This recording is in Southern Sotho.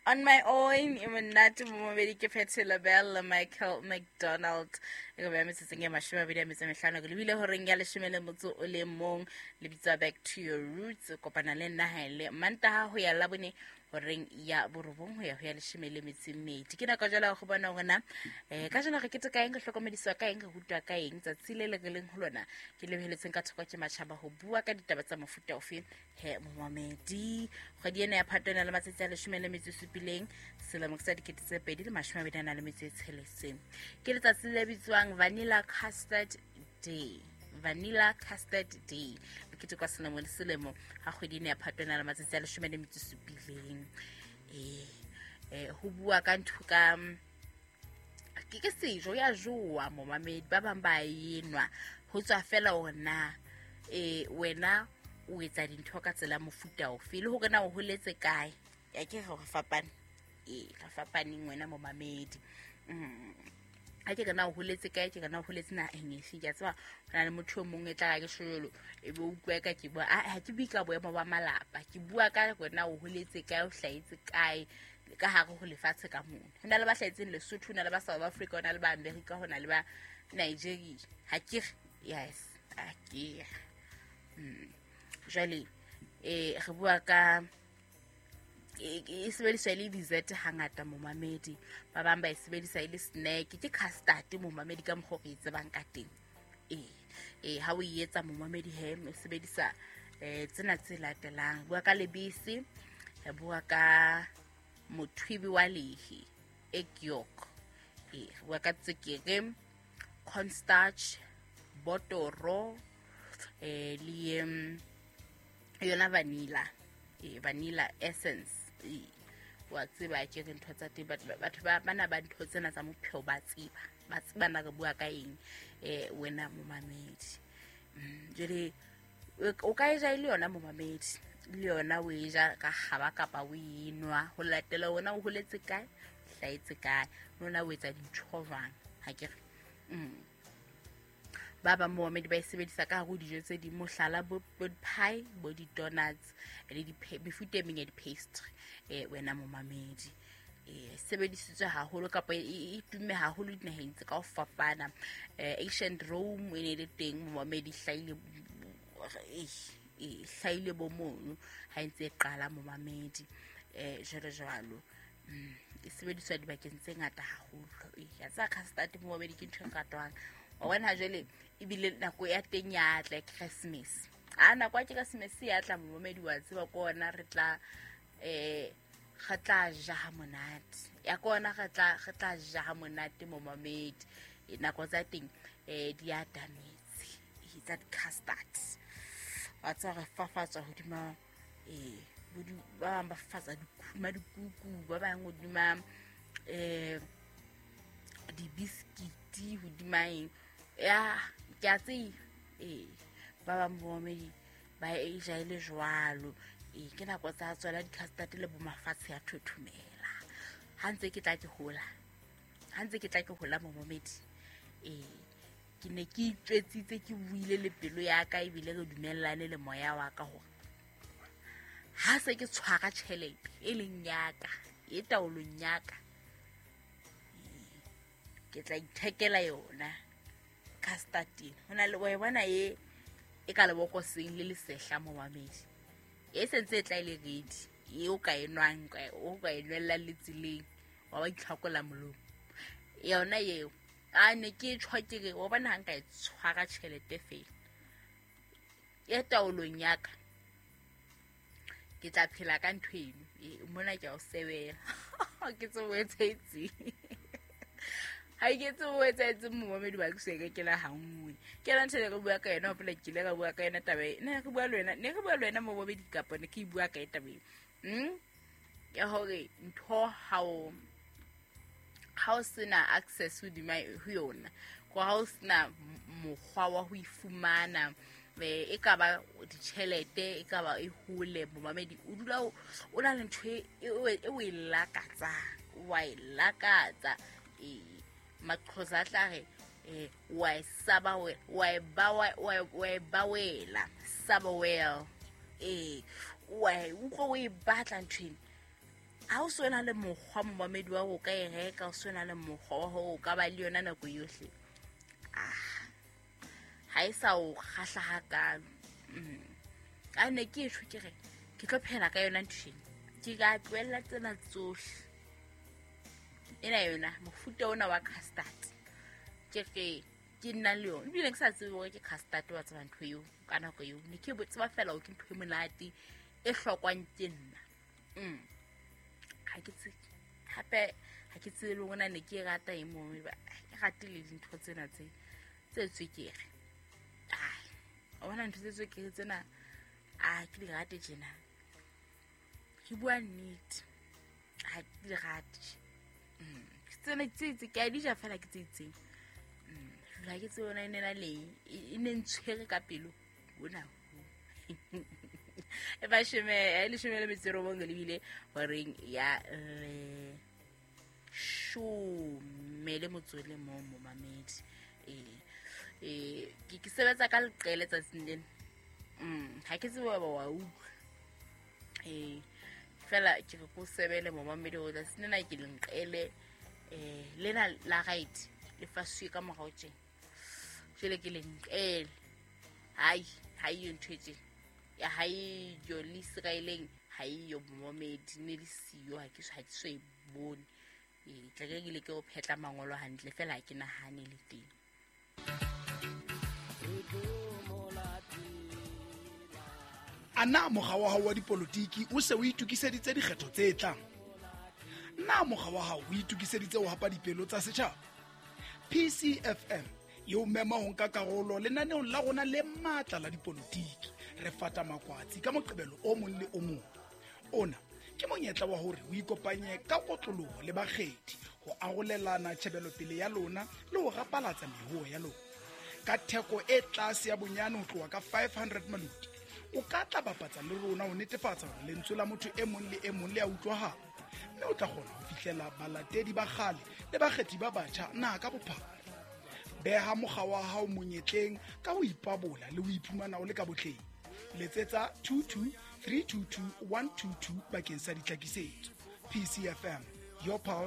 On my own e monate momamedi ke Patti LaBelle le Michael McDonald. E ka beya metsotsong e 25 ke lebile horeng ya 11 le bitsa Back to Your Roots. Kopana le nna ha e le Mantaha ho ya Labone horeng ya 9 ho ya ho ya 12. Ke nako jwale go bona hore na ka jeno re kete ka eng, re hlokomediswa ka eng, re rutwa ka eng tsatsi le le re leng ho lona ke lebeletseng ka thoko ke matjhaba ho bua ka ditaba tsa mofuta ofe. He momamedi, kgwedi ena ya Phato e na le matsatsi a 17 selemo sa 2026. Ke letsatsi le bitswang Vanilla Custard Day. Vanilla Custard Day le ketekwa selemo le selemo ha kgwedi ena ya Phato e na le matsatsi a 17. Ho bua ka ntho ka ke sejo ya jowa momamedi, ba bang ba enwa ho tswa fela hore na wena o etsa dintho ka tsela mofuta ofe le hore na o holetse kae. Ya ke re fapane, re fapaneng wena momamedi. Ha ke re na o holetse kae, ke re na o holetse naheng efe. Ke a tseba ho na le motho o mong e tla re ke sholo e be o utlwa ka ke bua, ha ke bue ka boemo ba malapa, ke bua ka hore na o holetse kae, o hlahetse kae ka hare ho lefatshe ka mona. Ho na le ba hlahetseng Lesotho, ho na le ba South Africa, ho na le ba America, ho na le ba Nigeria. Ha ke re yes, ha ke re. Jwale re bua ka e sebediswa e le dessert hangata momamedi, ba bang ba e sebedisa e le snack, ke custard momamedi ka mokgwa o re e tsebang ka teng. Ha o e etsa momamedi he o sebedisa tsena tse latelang. Bua ka lebese, re bua ka mothwibi wa lehe, egg yolk, re bua ka tswekere, cornstarch, botoro, le yona vanilla, vanilla essence. Wa tseba ke re ntho tsa teng, batho ba bana ba ntho tsena tsa mopheo ba tseba, ba tseba na re bua ka eng wena momamedi. Jwale o ka e ja e le yona momamedi, le yona o e ja ka kgaba kapa o e nwa ho latela wena o holetse kae, hlahetse kae, lona o etsa dintho jwang. Ha ke re ba bang momamedi ba e sebedisa ka hare ho dijo tse ding, mohlala bo pie, bo di-donuts le mefuta e meng ya di-pastry. Wena momamedi, sebedisitswe haholo kapa e tumme haholo dinaheng tse ka ho fapana. Ancient Rome e ne le teng momamedi, hlahile bo mono ha e ntse e qala momamedi, jwalo jwalo. E sebediswa dibakeng tse ngata haholo. Ya tsa custard momamedi ke ntho e ratwang. Wa bona ha jwale ebile nako ya teng ya tla Christmas. A nako ya Christmas ya tla momamedi, wa tseba ke ona re tla re tla ja ha monate. Ya ke ona re tla ja ha monate momamedi. Nako tsa teng di atametse. Tsa custard. Wa tseba re fafatswa hodima ba bang ba fafatsa dikuku, ba bang hodima dibiskiti, hodima eng. Ya ke a tseba ba bang momamedi ba e ja e le jwalo. Ke nako tsa tsona di-custard le bo mafatshe ya thothomela. Ha ntse ke tla ke hola, ha ntse ke tla ke hola momamedi, ke ne ke itjwetsitse, ke buile le pelo ya ka ebile re dumellane le moya wa ka hore ha se ke tshwara tjhelete e leng ya ka, e taolong ya ka, ke tla ithekela yona custard ena. Ho na le wa e bona e ka lebokoseng le lesehla momamedi, e sentse e tla e le ready, e o ka e nwang, o ka e nwellang le tseleng, wa ba itlhakola molomo. Yona eo a ne ke tjho ke re wa bona ha nka e tshwara tjhelete fela e taolong ya ka, ke tla phela ka ntho eno. Mona ke a o sebela. Ke tsebo e etsahetseng. Ha ke tsebo e etsahetseng momamedi wa ke se ke la ha nngwe. Ke yona ntho e re bua ka yona, hopola ke ile ka bua ka yona taba e. Ne re bua le wena, ne re bua le wena momamedi kapa ne ke e bua ka e taba e. Ya hore ntho ha o sena access hodima ho yona, ko ha o sena mokgwa wa ho ifumana, e ka ba ditjhelete, e ka ba e hole momamedi, o dula o na le ntho e o e lakatsang, wa e lakatsa. Maqhosa a tla re wa e saba, wa e bawela, saba well. Wa e utlwa o e batla ntho ena. Ha o so na le mokgwa momamedi wa ho ka e reka, o so na le mokgwa wa hore o ka ba le yona nako yohle, ha e sa o kgahla hakalo. A ne ke tjho ke re ke tlo phela ka yona ntho ena, ke ka tlohella tsena tsohle. Ena yona mofuta ona wa custard ke re ke nna le yona, ebile ke sa tsebe hore ke custard wa tseba ntho eo ka nako eo. Ne ke tseba fela hore ke ntho e monate e hlokwang ke nna. Ha ke tsebe hape, ha ke tsebe le hore na ne ke e rata e mong, ke rate le dintho tsena tse tswekere. Ai, o bona ntho tse tswekere tsena, a ke di rate tjena. Ke bua nnete, ha ke di rate. Tsena tse ke a di ja fela ke tse itseng. Ha ke tsebe yona e ne na le e ne ntshwere ka pelo hona. E ba 19 lebile horeng ya 11 momamedi. Ke sebetsa ka leqele tsatsing lena. Ha ke tsebe wa utlwa. Fela ke re ko sebele momamedi o tsatsing lena ke lenqele lena la right le fasuwe ka morao tjena. Jwale ke lenqele. Hai, ha iyo ntho e tjena. Ya ha iyo le Israeleng, ha iyo momamedi ne le siyo, ha ke so e bone. Tla ke le ke o phetla mangolo hantle fela ha ke nahane le teng. Ana mokga wa hao wa dipolotiki o se o itokiseditse dikgetho tse tlang? Na mokga wa hao o itokiseditse ho hapa dipelo tsa setjhaba? PCFM e o mema ho nka karolo lenaneong la rona le matla la dipolotiki. Re fata makwatsi ka Moqebelo o mong le o mong. Ona ke monyetla wa hore o ikopanye ka kotloloho le bakgethi ho arolelana tjhebelopele ya lona le ho rapalatsa mehoho ya lona. Ka theko e tlase ya bonyane ho tloha ka 500 maloti, o ka tla bapatsa le rona ho netefatsa hore lentswe la motho e mong le e mong le a utlwahala, mme o tla kgona ho fihlela balatedi ba kgale le bakgethi ba batjha naha ka bophara. Beha mokga wa hao monyetleng ka ho ipabola le ho iphumana o le ka botleng. Letsetsa 22 322 122 bakeng sa ditlhakisetso. PCFM, your pulse.